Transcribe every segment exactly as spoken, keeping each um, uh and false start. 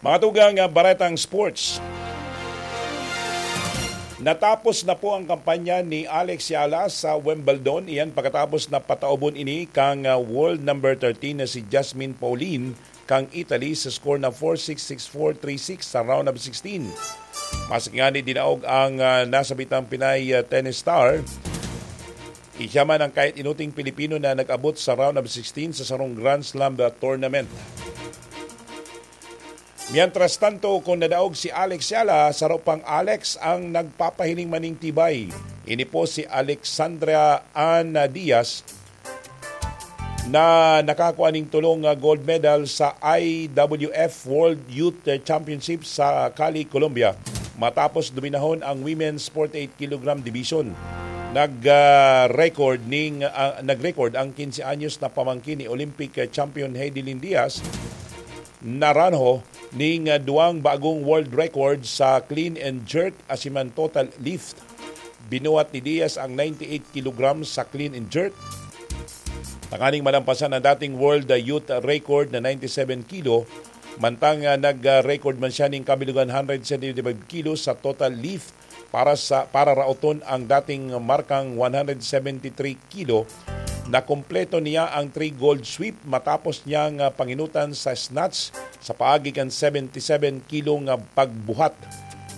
Mga tugang, ah, baretang sports. Natapos na po ang kampanya ni Alex Yala sa Wimbledon. Iyan pagkatapos na pataubon ini kang, ah, world number thirteen na si Jasmine Paulin kang Italy sa score na four six, six four, three six sa round of sixteen. Maski ngani dinaog ang, ah, nasabitang Pinay, ah, tennis star, siya man ang kahit inuting Pilipino na nag-abot sa round of sixteen sa sarong Grand Slam, ah, tournament. Mientras tanto, kung nadaog si Alex Yala, saro pang Alex ang nagpapahiling maning tibay. Ini po si Alexandra Ann Diaz na nakakua ning tolong, ah, gold medal sa I W F World Youth Championship sa Cali, Colombia, matapos dominahon ang women's forty-eight kilogram division. Nag, ah, record ning, ah, nag-record ang quince anyos na pamangkin ni Olympic, ah, champion Heidelin Diaz Naranjo ning, ah, duwang bagong world record sa clean and jerk asin man total lift. Binuhat ni Diaz ang ninety-eight kilogram sa clean and jerk. Tanganing malampasan ang dating world, ah, youth record na ninety-seven kilo, mantang, ah, nag-record man siya ning kabilugan hundred seventy-five kilo sa total lift para sa, para raoton ang dating markang one hundred seventy-three kilo. Nakumpleto niya ang three gold sweep matapos niyang, ah, panginutan sa snatch sa paagi kan seventy-seven kilo nga pagbuhat.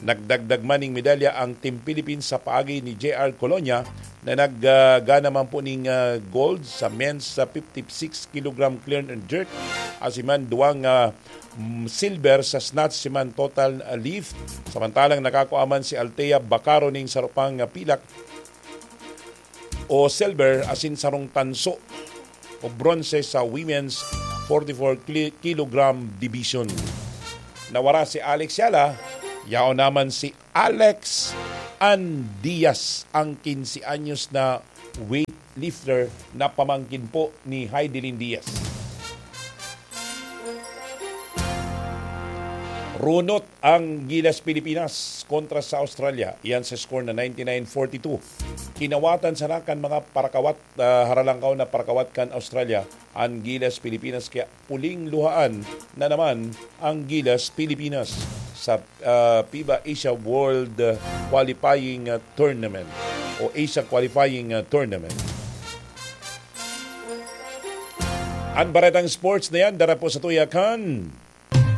Nagdagdag man ning medalya ang Team Philippines sa paagi ni J R Colonia na nag, ah, gana man po ning, ah, gold sa men's sa fifty-six kilogram clean and jerk, asin man duwang, ah, mm, silver sa snatch asin man total, ah, lift. Samantalang nakakua man si Althea Bacaro ning saro pang, ah, pilak o silver asin sarong tanso o bronze sa women's forty-four kili-, kilogram division. Nawara si Alex Yala, yaon naman si Alex Ann Diaz, ang quince anyos na weightlifter na pamangkin po ni Heidelin Diaz. Runot ang Gilas Pilipinas kontra sa Australia. Iyan sa score na ninety-nine forty-two. Kinawatan sana kan mga parakawat, ah, haralangkaw na parakawat kan Australia an Gilas Pilipinas, kaya puling luhaan na naman ang Gilas Pilipinas sa, ah, FIBA Asia World, ah, Qualifying, ah, Tournament o Asia Qualifying, ah, Tournament. An baretang sports na yan, dara po sa tuya kan